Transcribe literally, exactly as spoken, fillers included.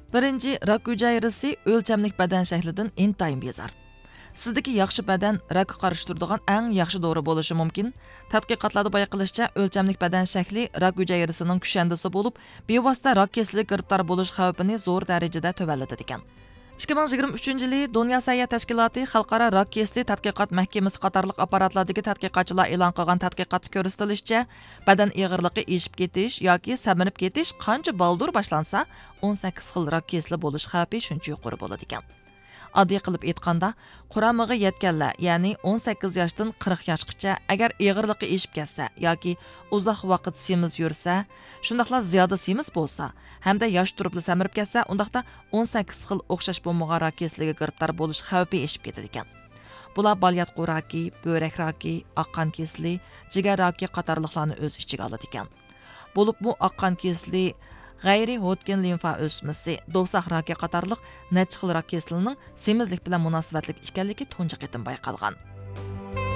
بىرىنچى، راك ھۈجەيرىسى ئۆلچەملىك بەدەن شەكلىدىن ئىنتايىن بىزار. سىزدىكى ياخشى بەدەن راكقا قارشى تۇرىدىغان ئەڭ ياخشى دورا بولۇشى مۇمكىن. تەتقىقاتلاردا بايقىلىشىچە، ئۆلچەملىك بەدەن شەكلى راك ھۈجەيرىسىنىڭ كۈشەندىسى بولۇپ، بىۋاسىتە راك كېسىلىگە گىرىپتار بولۇش خەۋپىنى زور دەرىجىدە تۆۋەنلىتىدىكەن. ئىككى مىڭ يىگىرمە ئۈچىنچى يىلى دۇنيا سەھىيە تەشكىلاتى خەلقئارا راك كېسىلى تەتقىقات مەھكىمىسى قاتارلىق ئاپپاراتلاردىكى تەتقىقاتچىلار ئېلان قىلغان تەتقىقاتتا كۆرسىتىلىشىچە، بەدەن ئېغىرلىقى ئېشىپ كېتىش ياكى سەمرىپ كېتىش قانچە بالدۇر باشلانسا، ئون سەككىز خىل راك كېسىلى بولۇش خەۋپى شۇنچە يۇقىرى بولىدىكەن. ئاددىي قىلىپ ئېيتقاندا، قۇرامىغا يەتكەنلەر، يەنى ئون سەككىز ياشتىن قىرىق ياشقىچە، ئەگەر ئېغىرلىقى ئېشىپ كەتسە ياكى ئۇزاق ۋاقىت سېمىز يۈرسە، شۇنداقلا زىيادە سېمىز بولسا ھەمدە ياش تۇرۇپلا سەمرىپ كەتسە، ئۇنداقتا ئون سەككىز خىل ئوخشاش بولمىغان راك كېسىلىگە گىرىپتار بولۇش خەۋپى ئېشىپ كېتىدىكەن. بۇلار بالىياتقۇ راكى، بۆرەك راكى، ئاق قان كېسىلى، جىگەر راكى قاتارلىقلارنى ئۆز ئىچىگە ئالىدىكەن. بولۇپمۇ ئاق قان كېسىلى، غەيرىي ھودكىن لىمفا ئۆسمىسى، دوۋساق راكى قاتارلىق نەچچە خىل راك كېسىلىنىڭ سېمىزلىك بىلەن مۇناسىۋەتلىك ئىكەنلىكى تۇنجى قېتىم بايقالغان.